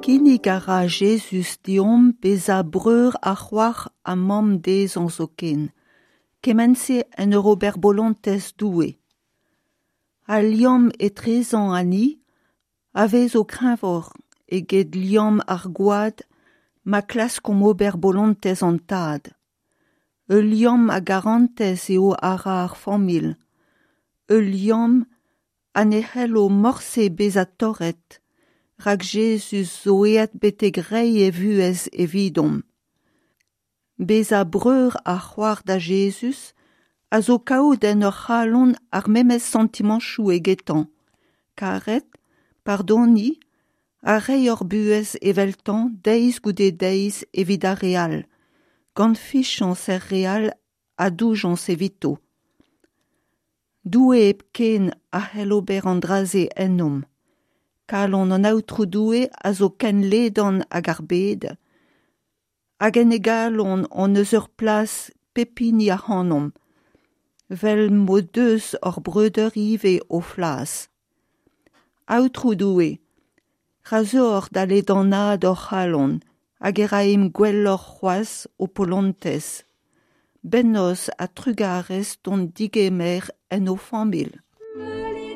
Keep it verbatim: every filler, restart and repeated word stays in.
Kinnig a ra Jezuz deomp bezañ breur ha c'hoar ha mamm dezhañ zoken, kement-se en ur ober bolontez Doue. Al liamm etrezañ ha ni a vezo kreñvoc'h eget liamm ar gwad ma klaskomp ober bolontez an Tad. Ul liamm a garantez eo a ra ar familh, ul liamm ha ne c'hello morse bezañ torret, rak Jezuz zo aet betek reiñ e vuhez evidomp. Bezañ breur ha c'hoar da Jezuz a zo kaout en hor c'halon ar memes santimantoù egetañ, karet, pardoniñ ha reiñ hor buhez eveltañ deiz goude deiz evit ar re all, gant fiziañs er re all ha doujañs evito. Doue hepken a c'hell ober an dra-se ennomp. Kalon an Aotrou Doue a zo ken ledan hag ar bed, hag en e galon hon eus ur plas pep hini ac'hanomp, 'vel m'o deus hor breudeur ivez o flas. Aotrou Doue, ra zeuoc'h da ledanaat hor c'halon hag e raimp gwelloc'h c'hoazh ho polontez. Bennozh ha trugarez d'hon digemer en ho familh.